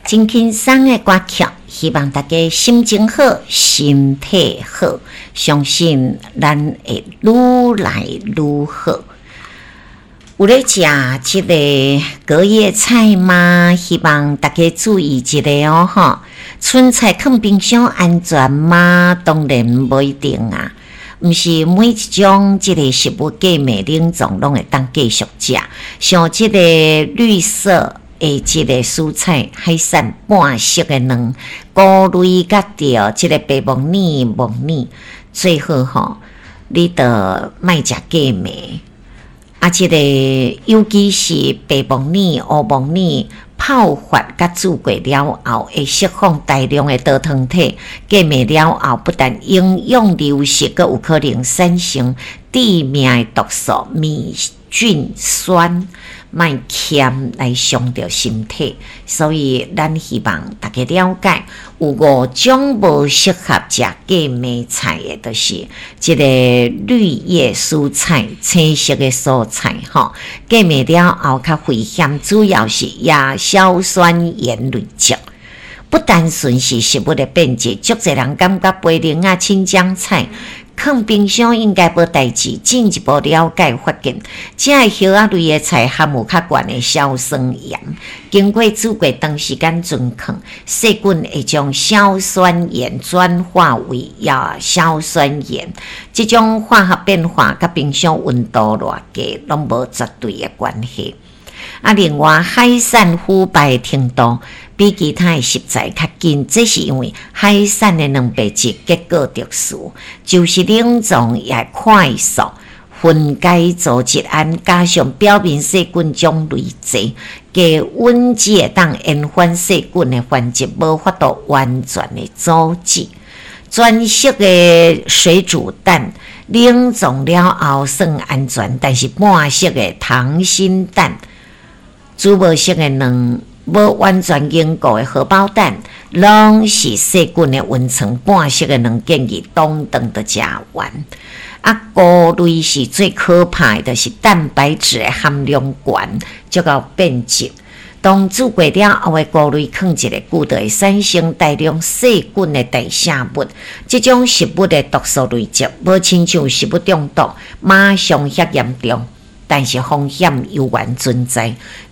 真輕鬆的歌曲，希望大家心情好，身體好，相信咱會愈來愈好。有咧食這个隔夜菜嗎？希望大家注意一下哦，吼！春菜囥冰箱安全嗎？當然無一定啊，毋是每一種這个食物過暝冷藏攏會當繼續食。像這个綠色的這个蔬菜，海產半熟的卵，菇類佮著這个白木耳、木耳，最好吼，你著莫食過暝。啊，這个尤其是白木耳、烏木耳泡發佮煮過了後，會釋放大量的多糖體，過暝了後，不但營養流失，閣有可能產生致命的毒素黴菌酸，莫儉來傷著身體。所以，咱希望大家了解，有五種無適合食過暝菜的，就是這个綠葉蔬菜、青色的蔬菜，吼，過暝了後較危險，主要是亞硝酸鹽累積。不單純是食物的變質，足濟人感覺白靈仔、青江菜囥冰箱應該無代誌。進一步了解發現，這个葉仔類的菜含有較懸的硝酸鹽，經過煮過長時間存囥，細菌會將硝酸鹽轉化為亞硝酸鹽。這種化學變化佮冰箱溫度偌低攏無絕對的關係。啊，另外海產腐敗程度比其他的食材較緊，這是因為海產的蛋白質結構特殊，就是冷藏也會快速分解組織胺，加上表面細菌種類濟，低溫只會當延緩細菌的繁殖，無法度完全的阻止。全熟的水煮蛋冷藏了後算安全，但是半熟的溏心蛋、煮無熟的卵、無完全凝固的荷包蛋，攏是細菌的溫床。半熟的卵建議當頓就食完。啊，菇類是最可怕的，就是蛋白質的含量懸，足夠變質。當煮過了後的菇類囥一个久，就會產生大量細菌的代謝物。這種食物的毒素累積，無親像食物中毒馬上遐嚴重，但是風險猶原存在。